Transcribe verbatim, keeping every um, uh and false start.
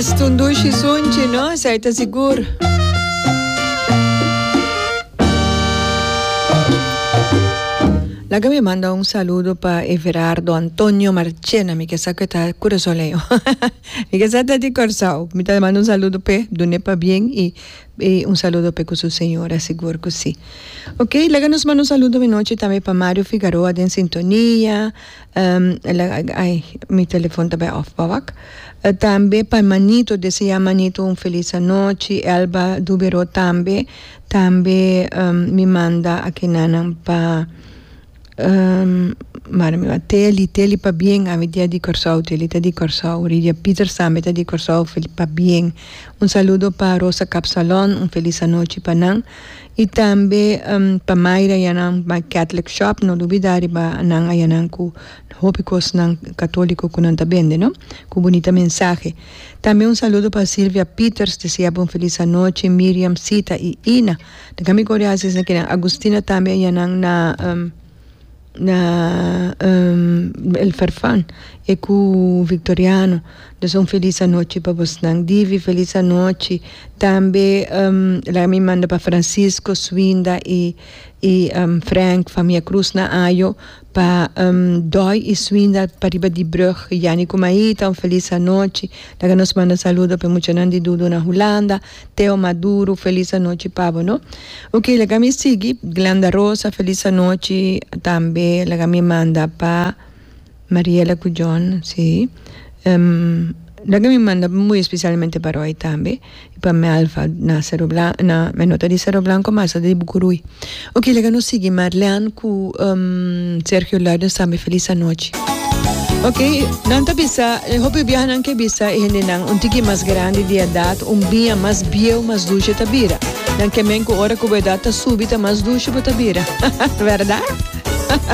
Esta un dushi sunchi, no? Esei ta sigur. Laga mi manda un saludo pa Everardo Antonio Marchena, mi ke sa ku e ta kurasoleño. Mi ke sa ta di Kòrsou. Mi ta manda un saludo p'e, dun'é pabien i i un saludo p'e ku su señora, sigur ku si. Ok, laga nos manda un saludo minochi tambe pa Mario Figaroa den sintonia. Ai, mi telefon ta bai off pa wak. Tambe pa Manito, desea Manito un felis anochi. Elba Dubero tambe. Tambe mi manda akinanan pa mara mi wak Teli, Teli pabien, awe dia di Kòrsou, Teli ta di Kòrsou. Ridia Pieters tambe ta di Kòrsou, pabien. Un saludo pa Rosa Kapsalon, un felis anochi pa nan. I tambe pa Mayra ayanan pa Catholic Shop, no lubida riba nan ayanan ku hopi kosnan katoliko ku nan ta bende no, ku bunita mensahe. Tambe un saludo pa Silvia Pieters, desea bo un felis anochi, Miriam, Sita i Ina. Ta kami kore hasi esaki kinan. Agustina tambe ayanan na na El Farfan e ku Victoriano. Dus un felis anochi pa bosnan. Divi felis anochi. Tambe laga mi manda pa Francisco, Swinda i i Frank, famia Cruz na Ayo, pa Doy i Swinda pariba di brug, Yani ku Maita un felis anochi. Laga nos manda saludo pa e muchanan di Dudu na Hulanda, Teo Maduro felis anochi pa bo no. Ok laga mi sigui, Glenda Rosa felis anochi tambe laga mi manda pa. Mariela cu John, si. Laga mi manda muy especialmente pa Roy tambe y pa Melva na Cerro Blanco, na, mi no ta di Cerro Blanco mas, ta di Bucuruy. Ok, laga nos sigui Marlene cu Sergio Luidens tambe feliz anochi. Ok, nan ta bisa, hopi biaha nan ke bisa e hendenan un tiki mas grandi di edad, un biña mas bieu mas dushe ta bira. Nan ke men cu ora cu bo edad ta subi ta mas dushe bo ta bira. Verdad?